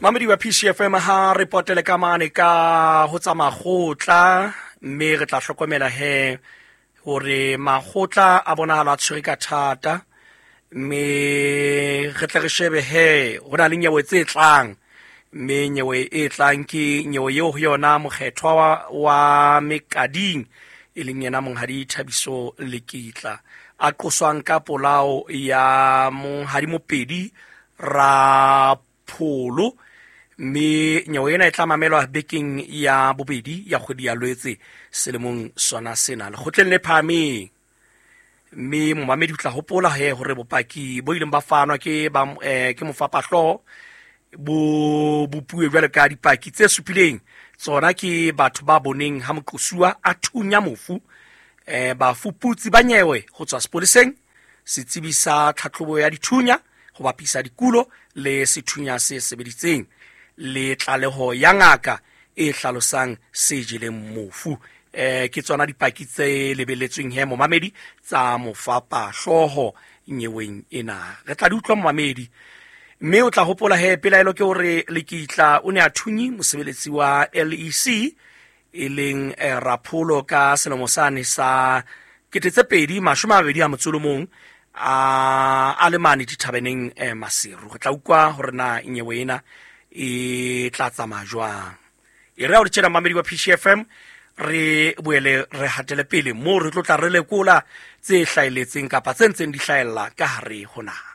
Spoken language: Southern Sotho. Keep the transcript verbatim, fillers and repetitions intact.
Mamedi wa P C F M ha re potele ka mane ka ho tsa makgotla, mme re tla hlokomela he hore makgotla a bonahala a tshwere ka thata, mme re tle re shebe he ho na le nyewe tse tlang, mme nyewe e tlang ke nyewe eo ho yona mokgethwa wa, wa Mekading e leng yena Monghadi Thabiso Lekitla a qoswang ka polao ya Monghadi Mopedi Rapholo, mme nyewe ena e tla mamelwa bekeng ya bobedi ya kgwedi ya Lwetse selemong sona sena lekgotleng le phahameng. Mme momamedi o tla hopola he hore bopaki bo ileng ba fanwa ke ba, eh, ke mofapahlooho bo bopuwe jwalo ka dipaki tse supileng, tsona ke batho ba boneng ha moqosuwa a thunya mofu, eh, bafuputsi ba nyewe ho tswa sepoleseng, setsebi sa tlhatlhobo ya dithunya ho bapisa dikulo le sethunya se sebeditseng, le tlaleho ya ngaka e hlalosang se jeleng mofu. Eh, ke tsona dipaki tse lebelletsweng he momamedi tsa mofapahlooho nyeweng ena. Re tla di utlwa momamedi, mme o tla hopola he pelaelo ke hore Lekitla o ne a thunye mosebeletsi wa L E C e leng, eh, Rapholo ka selemo sane sa kete tse pedi mashome a mabedi a motso o le mong, a, a le mane dithabeneng, eh, Maseru. Re tla utlwa hore na nyewe ena e tla tsamaya jwang. E re ha o le tjena mamedi wa P C F M, re boele re hatele pele moo re tlo tla re lekola tse hlahelletseng kapa tse ntseng di hlahella ka hare ho naha.